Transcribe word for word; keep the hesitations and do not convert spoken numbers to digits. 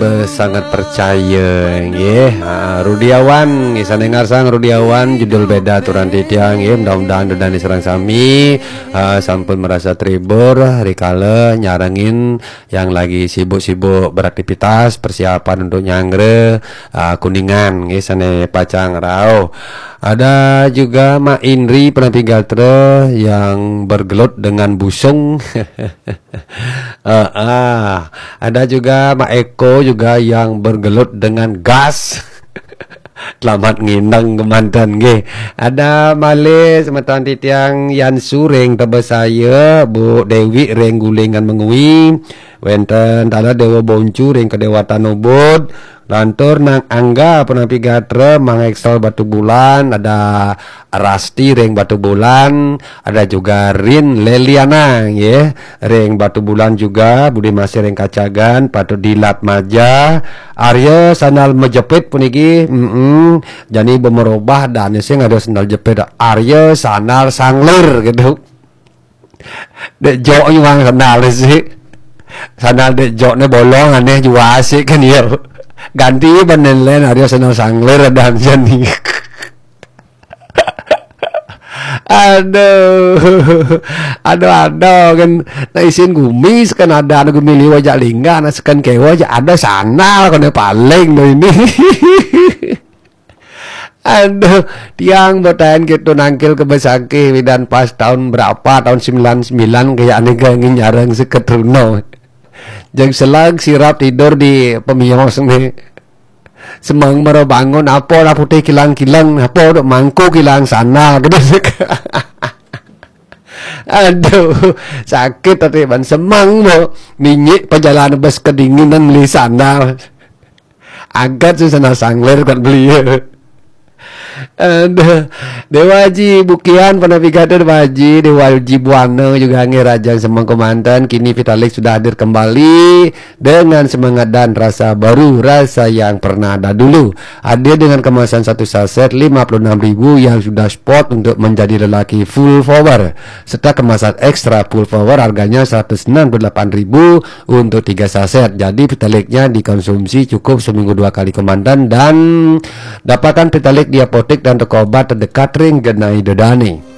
Sangat percaya nggih. Ha, Rudiawan nggih, sané ngarsang Rudiawan, judul beda turun titiang nggih. Mudah-mudahan Rudiawan sareng sami, ha, sampun merasa terhibur rikala nyarengin yang lagi sibuk-sibuk beraktivitas, persiapan untuk nyanggra, ha, Kuningan nggih, sané pacang rauh. Ada juga Mak Indri Penapi Gatra yang bergelut dengan busung. Heeh. Ada juga Mak Eko juga yang bergelut dengan gas. Selamat ngineng kemanten nggih. Ada malih semeton titiang Yan Suring Tebesaya, Bu Dewi ring Gulingan Mengwi, wénten taler Dewa Boncu ring Kedewatan Ubud, lantur Nang Angga Penapi Gatra, Mang Excel Batubulan, ada Rasti ring Batubulan, ada juga Rin Leliana nggih, ring Batubulan juga, Budi Masih ring Kacagan, Patut Dilat Maja, Arya Sandal Majepit puniki, mm jani bemerubah dan sing ada sandal jepit, Arya Sandal Sanglir gitu. Dek jok nyuang sandal sih. Sandal dek joknya bolong aneh jua sih kan ya. Ganti benen lain, Arya Sandal Sanglir ada jani. Aduh. Aduh, aduh kan. Nah, isin gumi sekan ada, anu gumi liwa jak lingga, nah sekan kewa jak ada sandal kena paling tuh ini. Aduh, tiang botaen gitu nangkil ke Besakih widan pas tahun berapa, tahun sembilan sembilan kayak aneh gangin nyarang seket runo. Jeng selag sirap tidur di pemios nih. Semang mara bangun, apa lah putih kilang-kilang, apa dok mangku kilang sana gitu. Aduh, sakit tadi ban semang mau minyik perjalanan bus kedinginan beli sandal. Agat sih sana sangler kan beli. Aduh, Dewa Haji Bukian pernah pigatur Dewa Haji, Dewa Haji Buana juga nggih, Raja Semang Komandan. Kini Vitalik sudah hadir kembali dengan semangat dan rasa baru, rasa yang pernah ada dulu. Hadir dengan kemasan satu saset lima puluh enam ribu yang sudah spot untuk menjadi lelaki full power, serta kemasan ekstra full power harganya seratus enam puluh delapan ribu untuk tiga saset. Jadi Vitaliknya dikonsumsi cukup seminggu dua kali, Komandan, dan dapatkan Vitalik di apotek dan toko obat terdekat ring genai dodane.